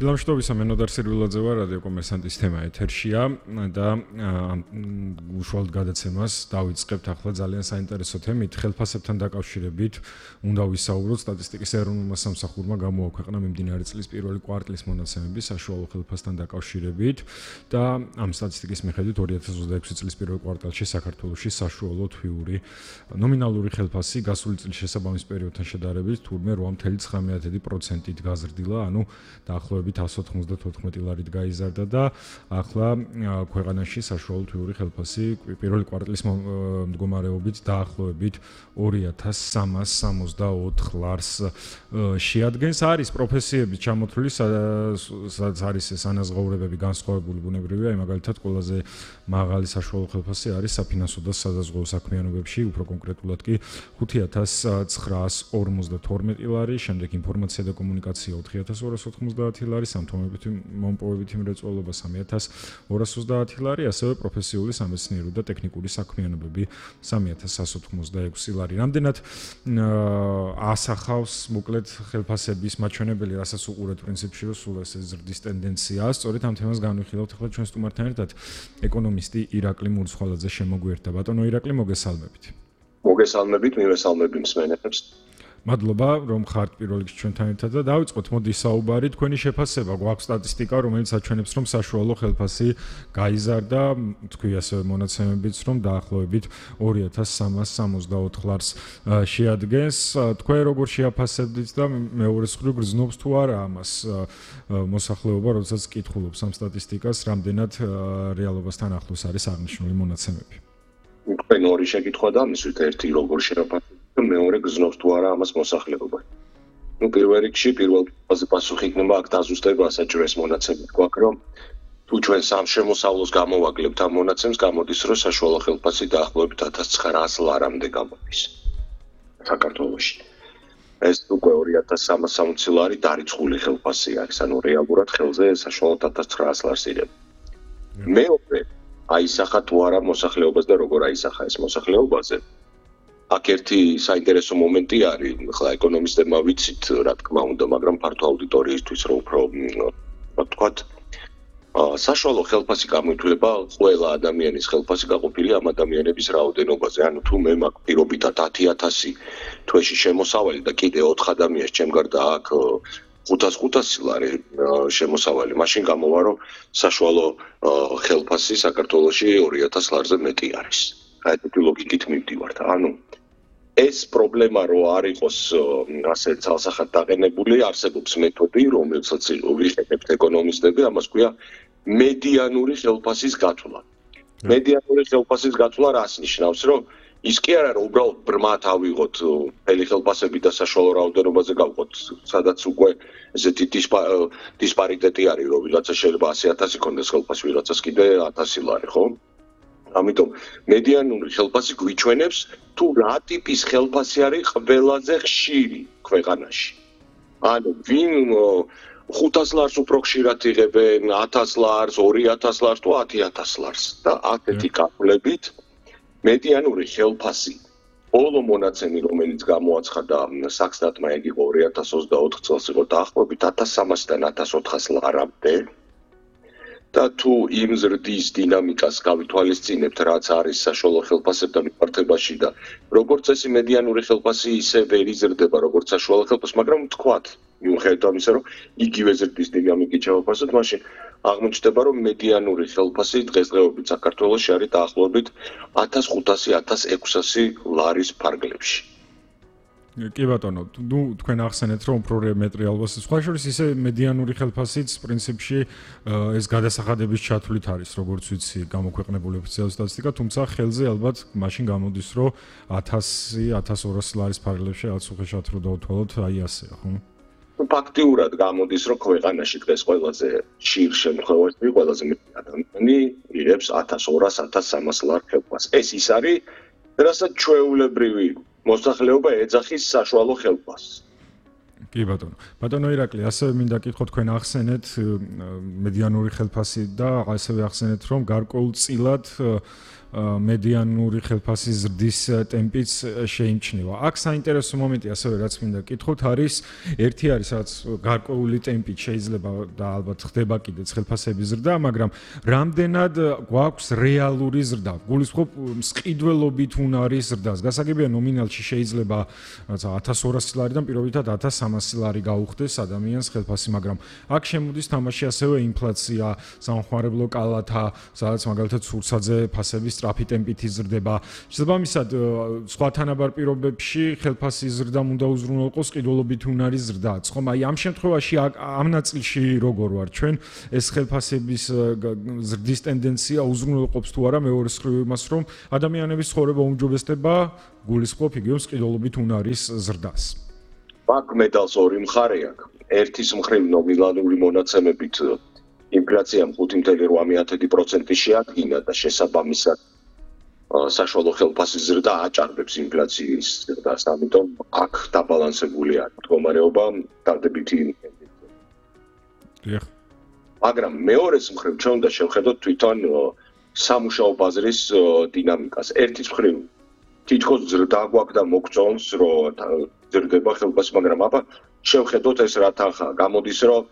დილამშვიდობისა, მენოდარ სირვილაძე ვარ, რადიო კომერსანტის თემა ეთერშია და უშუალოდ გადაცემას დავიწყებთ ახლა ძალიან საინტერესო თემით, ხელფასებთან დაკავშირებით უნდა ვისაუბროთ. სტატისტიკის ეროვნულმა სამსახურმა გამოაქვეყნა მიმდინარე წლის პირველი კვარტლის მონაცემები საშუალო ხელფასთან დაკავშირებით და ამ სტატისტიკის მიხედვით 2026 წლის პირველ კვარტალში საქართველოში საშუალო თვიური ნომინალური ხელფასი გასული წლის შესაბამის პერიოდთან შედარებით თურმე 8.9%-ით გაზრდილა, ანუ დაახლოებით 194 ლარით გაიზარდა და ახლა ქვეყანაში საშუალო თვიური ხელფასი პირველი კვარტლის მდგომარეობით დაახლოებით 2364 ლარს შეადგენს. არის პროფესიები ჩამოთვლილი, სადაც არის ეს ანაზღაურებები განსხვავებული ბუნებრივია, მაგალითად ყველაზე მაღალი საშუალო ხელფასი არის საფინანსო და საზღვაო საქმიანობებში, უფრო კონკრეტულად კი 5952 ლარი, შემდეგ ინფორმაცია და კომუნიკაცია 4290 ლარი, სამთომებითი მრეწველობა 3230 ლარი, ასევე პროფესიული სამეცნიერო და ტექნიკური საქმიანობები 3186 ლარი. რამდენად ასახავს მოკლედ ხელფასების მაჩვენებელი, რასაც უყურეთ პრინციპში, რომ სულ ეს ზრდის ტენდენციაა. სწორედ ამ თემას განვიხილავთ ახლა ჩვენ სტუმართან ერთად ეკონომისტი ირაკლი მურცხვალაძე შემოგვიერთდა. ბატონო ირაკლი, მოგესალმებით. მოგესალმებით, მივესალმები მსმენელებს. მადლობა, რომ ხართ პირველ რიგში ჩვენთან ერთად და დავიწყოთ მოდი საუბარი. თქვენი შეფასება გვაქვს სტატისტიკა, რომელიც აჩვენებს, რომ საშუალო ხელფასი გაიზარდა, თქვი ასევე მონაცემებიც, რომ დაახლოებით 2364 ლარს შეადგენს. თქვენ როგორ შეაფასებდით და მეორე მხრივ გრძნობს თუ არა ამას მოსახლეობა, როდესაც კითხულობს ამ სტატისტიკას, რამდენად რეალობასთან ახლოს არის აღნიშნული მონაცემები? თქვენ ორი შეკითხვა და მისვით ერთი როგორ შეაფასებთ და მეორე გრძნობს თუ არა ამას მოსახლეობა. პირველ რიგში პირველ ფაზზე პასუხი იქნება აქ დაზუსტება საჭიროეს მონაცემები გვაქვს, რომ თუ ჩვენ სამ შემოსავლოს გამოვაკლებთ ამ მონაცემს, გამოდის, რომ საშუალო ხელფასი დაახლოებით 1900 ლარამდე გამოდის საქართველოში. ეს უკვე 2360 ლარი დარიცხული ხელფასი არის, ანუ რეალურად ხელზე საშუალოდ 1900 ლარს ირება. მეორე აისახა თუ არა მოსახლეობას და როგორ აისახა ეს მოსახლეობაზე. აქ ერთი საინტერესო მომენტი არის, ხლა ეკონომისტებმა ვიცით, რა თქმა უნდა, მაგრამ ფართო აუდიტორიისთვის რომ უფრო ვთქვათ, საშუალო ხელფასი გამოითვლება ყველა ადამიანის ხელფასი გაყოფილი ამ ადამიანების რაოდენობაზე. ანუ თუ მე მაქვს პირობითად 10000 თვეში შემოსავალი და კიდე 4 ადამიანს ჩემ გარდა აქ 500 ლარი შემოსავალი, მაშინ გამოვა, რომ საშუალო ხელფასი საქართველოში 2000 ლარზე მეტი არის. აი ეს ლოგიკით მივდივართ. ანუ ეს პრობლემა რო არ იყოს ასე ცალსახად დაყენებული, არსებობს მეთოდი, რომელსაც ვიხდებით ეკონომისტები, ამას ქვია მედიანური ხელფასის გათვლა. მედიანური ხელფასის გათვლა რას ნიშნავს, რომ ის კი არა, რომ უბრალოდ ბრმად ავიღოთ მთელი ხელფასები და საშუალო რაოდენობაზე გავყოთ, სადაც უკვე ესეთი დისპარიტეტი არის, რომ ვიღაცა შეიძლება 100000 კონდეს ხელფასი, ვიღაცას კიდე 1000 ლარი, ხო? ამიტომ მედიანური ხელფასი გვიჩვენებს თუ რა ტიპის ხელფასი არის ყველაზე ხშირი ქვეყანაში. ანუ ვინ 500 ლარს უფრო ხშირად იღებენ, 1000 ლარს, 2000 ლარს თუ 10000 ლარს და ასეთი კალკულებით მედიანური ხელფასი ბოლო მონაცემი, რომელიც გამოაცხადა საქსტატმა, იგი იყო 2024 წელს, იყო დაახლოებით 1300-დან 1400 ლარამდე. და თუ იმ ზრდის დინამიკას გავითვალისწინებთ, რაც არის საშუალო ხელფასებთან მიმართებაში და როგორც წესი მედიანური ხელფასი ისე ვერ იზრდება, როგორც საშუალო ხელფასი, მაგრამ თქვათ, მიუხედავად ამისა, რომ იგივე ზრდის დინამიკით შევაფასოთ, მაშინ აღმოჩნდება, რომ მედიანური ხელფასი დღესდღეობით საქართველოში არის დაახლოებით 1500-1600 ლარის ფარგლებში. კი ბატონო, თქვენ ახსენეთ, რომ უფრო მეტრიალობას სხვა შორის ისე მედიანური ხელფასიც პრინციპში ეს გადასახადების ჩათვლით არის, როგორც ვიცი, გამოქვეყნებული ოფიციალური სტატისტიკა, თუმცა ხელზე ალბათ მაშინ გამოდის, რომ 1000-1200 ლარის ფარგლებში რაც უხეშად რო დავთვალოთ, აი ასეა, ხო? ფაქტიურად გამოდის, რომ ქვეყანაში დღეს ყველაზე ხშირ შემთხვევაში ყველაზე მეტი ადამიანი იღებს 1200-1300 ლარ ხელფასს. ეს ის არის, რასაც ჩვეულებრივი მოსახლეობა ეძახის საშუალო ხელფასს. კი ბატონო. ბატონო ირაკლი, ასევე მინდა კითხო, თქვენ ახსენეთ მედიანური ხელფასი და ასევე ახსენეთ, რომ გარკვეულწილად მედიანური ხელფასის ზრდის ტემპიც შეიმჩნევა. აქ საინტერესო მომენტი ასევე რაც მინდა გითხოთ არის ერთი არის რაც გარკვეული ტემპით შეიძლება და ალბათ ხდება კიდეც ხელფასების ზრდა, მაგრამ რამდენად გვაქვს რეალური ზრდა? გულისხმობ მსყიდველობით უნარის ზრდას. გასაგებია ნომინალში შეიძლება რაცა 1200 ლარიდან პირობითად 1300 ლარი გაუხდეს ადამიანს ხელფასი, მაგრამ აქ შემოდის თამაში ასევე ინფლაცია, სამხმარებლო კალათა, სადაც მაგალითად სურსაძე ფასების სწრაფი ტემპით იზრდება. შესაბამისად, სხვა თანაბარ პირობებში ხელფასის ზრდამ უნდა უზრუნველყოს ყიდულობით უნარის ზრდაც. ხომ აი ამ შემთხვევაში ამ ნაწილში როგორ ვარ ჩვენ ეს ხელფასების ზრდის ტენდენცია უზრუნველყოფს თუ არა მეორე მხრივ იმას, რომ ადამიანების ცხოვრება უმჯობესდება გულისხმობ იგივე ყიდულობით უნარის ზრდას. აქ მედალს ორი მხარე აქვს. ერთის მხრივ ნომინალური მონაცემებით ინფლაციამ 5.8% შეადგინა და შესაბამისად საშუალო ხელფასის ზრდა აჭარბებს ინფლაციის ზრდას, ამიტომ აქ დაბალანსებულია მდგომარეობა დადებითი დიახ. მაგრამ მეორეს მხრივ ჩვენ უნდა შევხედოთ თვითონ სამუშაო ბაზრის დინამიკას. ერთის მხრივ თითქოს ზრდა გვაქვს და მოგწონს რომ ზრდება ხელფასი, მაგრამ აბა შევხედოთ ეს რა თანხაა. გამოდის რომ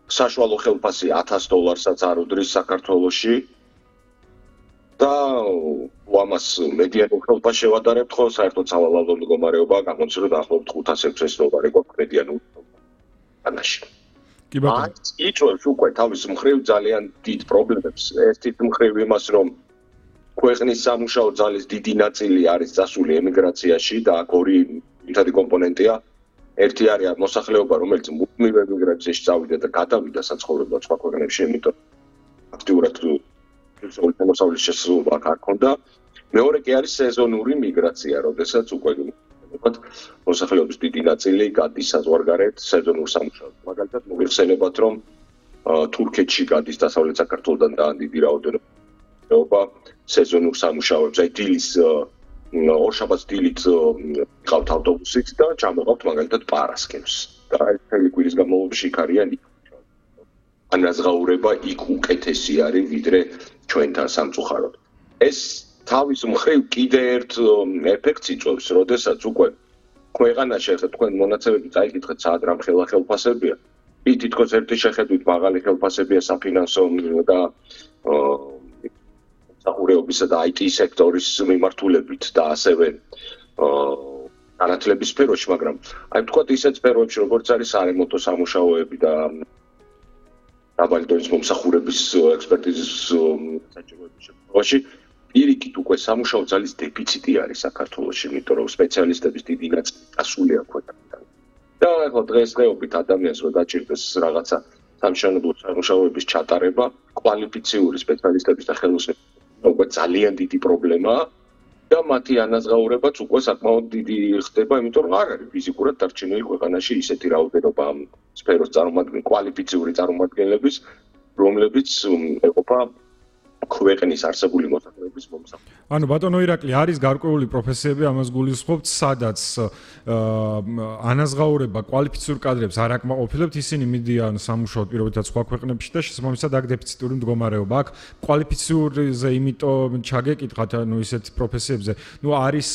საშუალო ხელფასი $1000-საც არ უდრის საქართველოში და ამას მედიანურ ხელფასს შევადარებთ, ხო, საერთოდ სავალალო მდგომარეობა გამოდის რომ დაახლოებით $500-600 გვაქვს მედიანურ ხელფასში. კი ბატონო. იწვევს უკვე თავის მხრივ ძალიან დიდ პრობლემებს. ერთით მხრივ იმას, რომ ქვეყნის სამუშაო ძალის დიდი ნაწილი არის წასული ემიგრაციაში და აქ ორი ერთადი კომპონენტია. ერთი არის მოსახლეობა, რომელიც მუდმივ ემიგრაციაში წავიდა და გადავიდა საცხოვრებლად სხვა ქვეყნებში, იმიტომ აქტიურად მოსავლის შესაძლებლობა არ ჰქონდა. მეორე კი არის სეზონური მიგრაცია, როდესაც უკვე მოსახლეობის დიდი ნაწილი გადის საზღვარგარეთ სეზონურ სამუშაოდ. მაგალითად, მოიხსენებათ, რომ თურქეთში გადის დასავლეთ საქართველოდან და დიდი რაოდენობა სეზონურ სამუშაოებს, აი დილის ორშაბათს დილით ყავთ ავტობუსით და ჩამოყავთ მაგალითად პარასკევს. და ეს მთელი კვირის განმავლობაში იქ არიან. ანაზღაურება იქ უკეთესი არის, ვიდრე ჩვენთან სამწუხაროდ. ეს თავის მხრივ კიდე ერთ ეფექტს იწვევს, როდესაც უკვე ქვეყანაში ახლა თქვენ მონაცემები წაიკითხეთ, სად რამ ხელფასებია. თითქოს ერთი შეხედვით მაღალი ხელფასებია საფინანსო და საყურეობისა და IT სექტორის მიმართულებით და ასევე განათლების სფეროში, მაგრამ აი ვთქვათ ისეთ სფეროებში, როგორც არის სარემონტო სამუშაოები და დაბალი დონის მომსახურების ექსპერტიზის საჭიროების შემთხვევაში პირიქით უკვე სამუშაო ძალის დეფიციტი არის საქართველოში, იმიტომ რომ სპეციალისტების დიდი ნაწილი წასულია ქვეყანიდან. და ახლა დღესდღეობით ადამიანს რომ დაჭირდეს რაღაცა სამშენებლო სამუშაოების ჩატარება, კვალიფიციური სპეციალისტების და ხელოსნების უკვე ძალიან დიდი პრობლემაა და მათი ანაზღაურებაც უკვე საკმაოდ დიდი ხდება, იმიტომ რომ არ არის ფიზიკურად დარჩენილი ქვეყანაში ისეთი რაოდენობა ამ სფეროს კვალიფიციური წარმომადგენლების, რომლებიც ეყოფა ქვეყნის არსებული მოსახლეობის მომსახურებას. ანუ ბატონო ირაკლი, არის გარკვეული პროფესიები, ამას გულისხმობთ, სადაც ანაზღაურება კვალიფიციური კადრებს არ აკმაყოფილებთ, ისინი მიდიან სამუშაოდ პირობითად სხვა ქვეყნებში და შესაბამისად აქ დეფიციტური მდგომარეობა აქვს. კვალიფიციურზე იმიტომ ჩაგეკითხათ, ანუ ისეთ პროფესიებზე, არის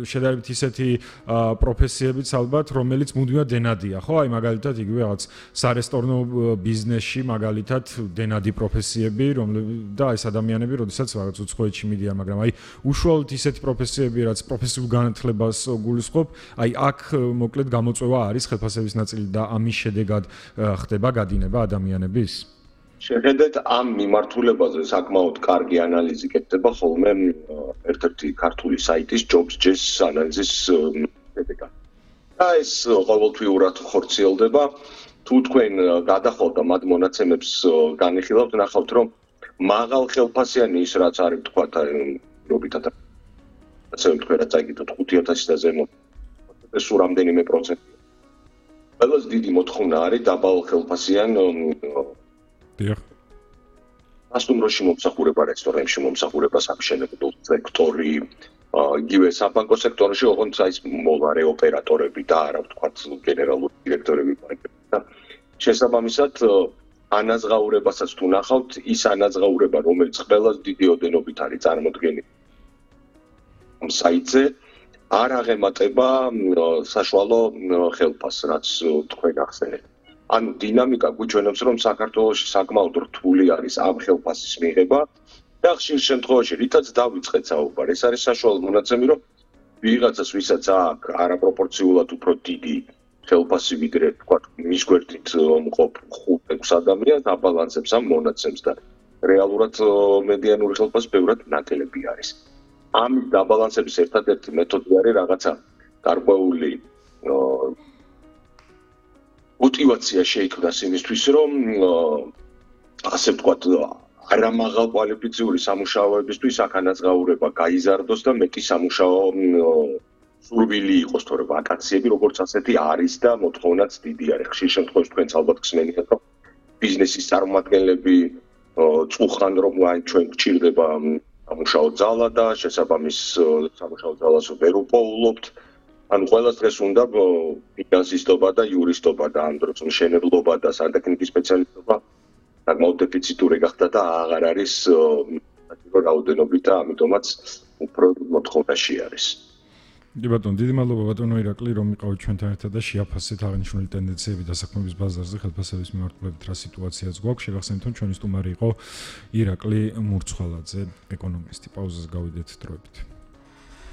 შედარებით ისეთი პროფესიებიც ალბათ, რომელიც მუდმივად დენადია, ხო? აი მაგალითად იგივე რაღაც სარესტორნო ბიზნესში მაგალითად დენადი პროფესიები, და ეს ადამიანები, როდესაც რაღაც უცხოეთში მიდიან, მაგრამ აი უშუალოდ ისეთი პროფესიები, რაც პროფესიულ განათლებას გულისხმობ, აი აქ მოკლედ გამოწვევა არის ხელფასების ნაწილი და ამის შედეგად ხდება გადინება ადამიანების. შეხედეთ ამ მიმართულებაზე საკმაოდ კარგი ანალიზი კეთდება ხოლმე ერთ-ერთი ქართული საიტის Jobs.js ანალიზის შედეგად. და ეს ყოველთვიურად ხორციელდება. თუ თქვენ გადახავთ და მათ მონაცემებს განიხილავთ, ნახავთ, რომ მაღალ ხელფასიანი ის რაც არის თქვათ რობითად ასე თქვენ რაც აიგეთ 5000 და ზემო ეს რამდენიმე პროცენტია. ყველაზე დიდი მოთხოვნა არის დაბალ ხელფასიან დიახ. ასტუმროში მომსახურება, რესტორნებში მომსახურება, სამშენებლო სექტორი, იგივე საბანკო სექტორში, ოღონდ ის მოვარე ოპერატორები და არა ვთქვათ გენერალური დირექტორები და შესაბამისად ანაზღაურებასაც თუ ნახავთ, ის ანაზღაურება, რომელიც ყველას დიდი ოდენობით არის წარმოდგენილი ამ საიტზე, არ აღემატება საშუალო ხელფასს, რაც თქვენ ახსენეთ. ანუ დინამიკა გვიჩვენებს, რომ საქართველოში საკმაოდ რთული არის ამ ხელფასის მიღება და ხშირ შემთხვევაში რითაც დავიწყეთ საუბარი, ეს არის საშუალო მონაცემი, რომ ვიღაცას ვისაც აქვს არაპროპორციულად უფრო დიდი ხელფასი ვიდრე თქვათ მის გვერდით მყოფ 5-6 ადამიანს აბალანსებს ამ მონაცემს და რეალურად მედიანური ხელფასი ბევრად ნაკელები არის. ამის დაბალანსების ერთადერთი მეთოდი არის რაღაცა გარკვეული мотивация შეიქმნას იმისთვის, რომ ასე ვთქვათ, არამაღალ კვალიფიციური სამუშაოებისთვის აქ ანაზღაურება გაიზარდოს და მეტი სამუშაო სურვილი იყოს, თორე ვაკანსიები როგორც ასეთი არის და მოთხოვნაც დიდი არის. ხშირ შემთხვევაში თქვენც ალბათ გსმენიათ, რომ ბიზნესის წარმომადგენლები წუხან, რომ აი ჩვენ გჭირდება სამუშაო ძალა და შესაბამის სამუშაო ძალას ვერ უპოულობთ. ანუ ყველას დღეს უნდა ფინანსისტობა და იურისტობა და ამ დროს მშენებლობა და სანტექნიკის სპეციალისტობა საკმაოდ დეფიციტური გახდა და აღარ არის საჭირო რაოდენობით და ამიტომაც უფრო მოთხოვნაში არის. კი ბატონო, დიდი მადლობა ბატონო ირაკლი, რომ იყავით ჩვენთან ერთად და შეაფასეთ აღნიშნული ტენდენციები დასაქმების ბაზარზე ხელფასების მიმართულებით რა სიტუაციაც გვაქვს. შეგახსენებთ, რომ ჩვენი სტუმარი იყო ირაკლი მურცხვალაძე, ეკონომისტი. პაუზას გავიდეთ დროებით.